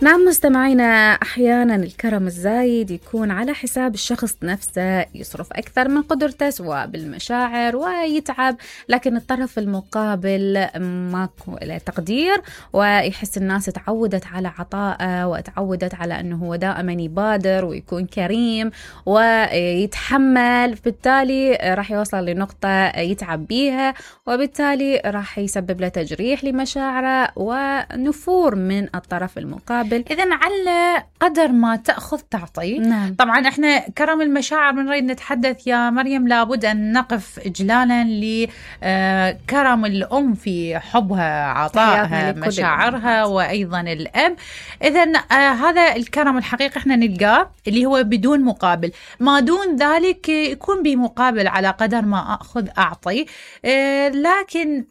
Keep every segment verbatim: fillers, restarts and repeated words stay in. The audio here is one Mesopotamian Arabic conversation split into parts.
نعم مستمعينا، أحيانا الكرم الزايد يكون على حساب الشخص نفسه، يصرف أكثر من قدرته سواء بالمشاعر ويتعب، لكن الطرف المقابل ماكو له تقدير، ويحس الناس تعودت على عطائه وتعودت على أنه هو دائما يبادر ويكون كريم ويتحمل، بالتالي راح يوصل لنقطة يتعب بيها، وبالتالي راح يسبب له تجريح لمشاعره ونفور من الطرف المقابل. إذن على قدر ما تأخذ تعطي. نعم. طبعا احنا كرم المشاعر من نريد نتحدث يا مريم، لابد أن نقف إجلالا لكرم الأم في حبها، عطائها، مشاعرها، وأيضا الأب. إذن آه هذا الكرم الحقيقي احنا نلقاه اللي هو بدون مقابل، ما دون ذلك يكون بمقابل على قدر ما أخذ أعطي. آه لكن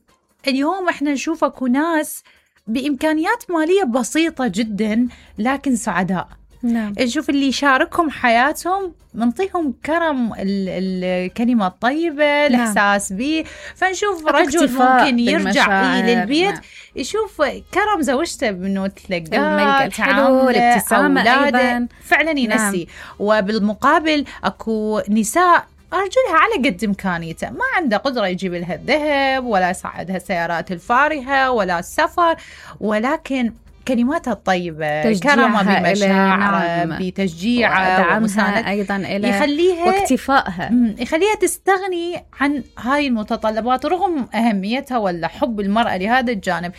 اليوم احنا نشوف اكو ناس بإمكانيات مالية بسيطة جدا لكن سعداء. نعم. نشوف اللي يشاركهم حياتهم منطيهم كرم، الكلمة الطيبة، نعم. الإحساس به. فنشوف رجل ممكن يرجع للبيت، نعم. يشوف كرم زوجته بأنه تلقاه، الحلو، الابتسامة أيضا فعلا ينسي. نعم. وبالمقابل أكو نساء أرجلها على قد إمكانيته، ما عنده قدرة يجيب لها الذهب ولا يساعدها السيارات الفارهة ولا السفر، ولكن كلماتها الطيبة، كرمها بمشاعر، نعم. بتشجيعها ومساندتها أيضا إلى يخليها واكتفائها، يخليها تستغني عن هاي المتطلبات رغم أهميتها ولا حب المرأة لهذا الجانب.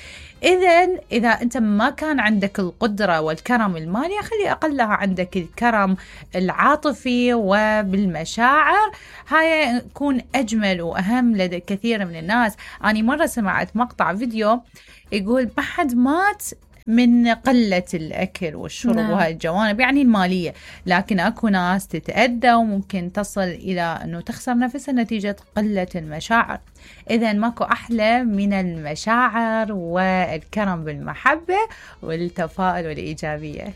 إذن إذا أنت ما كان عندك القدرة والكرم المالي، خلي أقلها عندك الكرم العاطفي وبالمشاعر، هاي يكون أجمل وأهم لدى كثير من الناس. أنا مرة سمعت مقطع فيديو يقول ما حد مات من قلة الأكل والشرب، نعم. وهاي الجوانب يعني المالية، لكن أكو ناس تتأذى وممكن تصل إلى أنه تخسر نفسها نتيجة قلة المشاعر. إذن ماكو أحلى من المشاعر والكرم بالمحبة والتفاؤل والإيجابية.